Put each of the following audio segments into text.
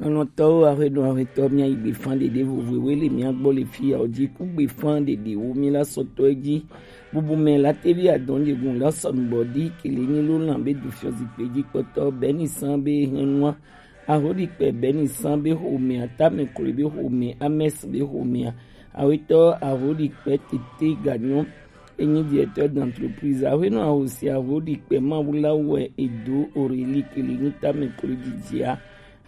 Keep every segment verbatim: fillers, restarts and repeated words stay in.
Nɔtɔwo, ahweɖo ahwetɔ, mía yi gbefan ɖeɖe vovovowo le mía gbɔ le fiya o ji ku gbefan ɖeɖewo mí la sɔtɔ ji. Bubu mɛ la tevi adɔn jegun la sɔnubɔ di kele nyi lo lan be du fiɔ zikpe ji kpɔtɔ bɛni san be hɛnua. Ahoɖikpɛ bɛni san be xomea, tamɛ klo be xomea, amɛs be xomea. Awetɔ ahoɖikpɛ tete ganyɔ. Enyi directeur d'entreprise. Ahuenɔ ahosi ahoɖikpɛ mawu la wɛ edo Aurélie kele nyi tamɛ klo jijia.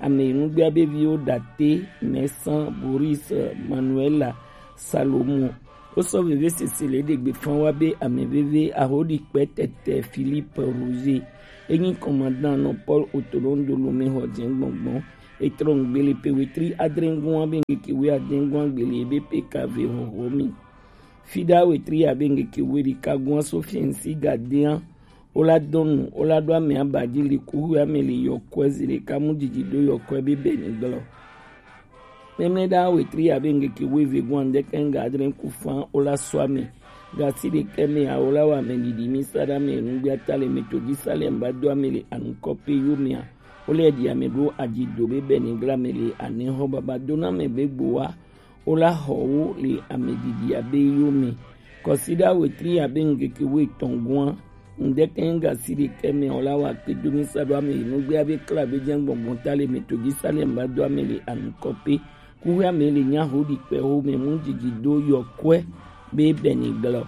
Ame enugbea be viwo Date, Mɛsan, Boris, Manuela, Salomo. Wosɔ veve sese le ɖegbe fan wa be ame veve ahoɖikpɛ tɛtɛ Philippe Roger. Enyi commandant nɔ Paul Otodon Dolo me xɔ jɛ gbɔngbɔn. Etrɔ ŋgbe le pe wetri adre ŋgɔn be ŋkeke we adre ŋgɔn gbele ebe pe kave hoho mi. Fida wetri abe ŋkeke we ɖeka gɔn so fiɛnsi gadea. Wola dɔnu, wola ɖo ame aba ji le kuxu ame le yɔkɔe zi ɖeka mu didi ɖo yɔkɔe be bɛni gblɔ. Mɛmlɛ ɖa wetri abe ŋkeke we ve gɔn ŋdɛkɛ ŋga adre ku fan wola sɔ ame. Gasi ɖekɛ mɛ a wola wa ame didi mi sa ɖa ame nugbe ata le me to ji sa le mba do ame le anukɔ pe yo mea. Wole ɖi ame ɖo aji do be bɛni gblɔ ame le anɛ xɔ baba do na ame be gbo wa. Wola xɔ wo le ame didi abe yo me. Kɔsiɖa wetri abe ŋkeke we tɔn gɔn. Ŋdɛkɛ ŋga si ɖekɛ mɛ wola wa kpe do mi sa ɖo ame yi nugbe abe kla be jɛ gbɔngbɔn ta le me to ji sa le mba do ame le anukɔ pe. Kuxu ame le nya ho ɖi kpɛ ho me mu didi do yɔkɔe be bɛni gblɔ.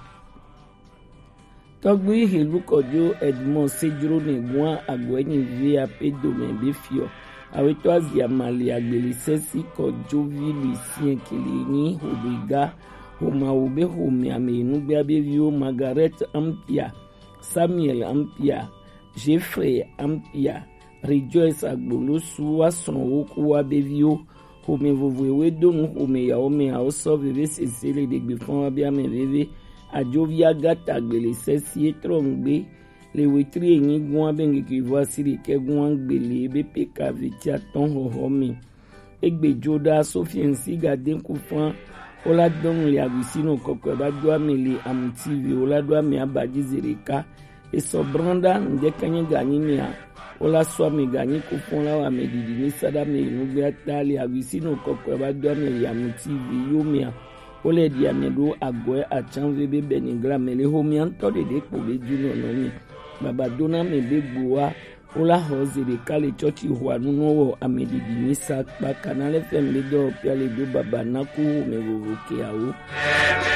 Tɔgbi Helu Kɔjo Edmond Sejro ne gua agɔɛ ni via pe dome be fiɔ. Awetɔ azia mali agbeli sɛsi Kɔjo vi Lucien kele ni hodo iga. Homawo be home ame nugbe abe viwo Margaret Ampia, Samuel Ampia, Jeffrey Ampia, Rejoice Agbolosu wa srɔ̃ wo ku wa be viwo. Xome vovoewo do nu xome yawo me awo sɔ veve sese le ɖegbe fɔn wa be ame veve. Ajovi Agata gbele sɛsi etrɔ ŋgbe le wetri enyi gɔn abe ŋkeke vɔ asi ɖekɛ gɔn gbele be peka veti atɔn xɔxɔ me. Egbe jo ɖa Sophie ŋsi gade ku fɔn. Wola dɔnu le agusi nɔ kɔkɔe ba do ame le amuti vi wola do ame aba ji ze ɖeka. Esɔ brɔnɖa ŋdɛkɛ nye ganyi mea, wola sɔ ame ganyi ku fɔn la wa ame didi mi sa ɖa ame nugbe ata le agusi nɔ kɔkɔe ba do ame le amuti vi yo mea. Wole ɖi ame ɖo agɔe atsan ve be bɛni gla ame le xomea ŋtɔ ɖeɖe kpo be ju nɔ nɔ mi. Baba do na ame be gboa. Wola xɔ ze ɖeka le tsɔtsi xɔa nu nɔ wɔ ame didi mi sa kpa kana le fɛn be dɔ pia le do baba na ku xome vovo keawo.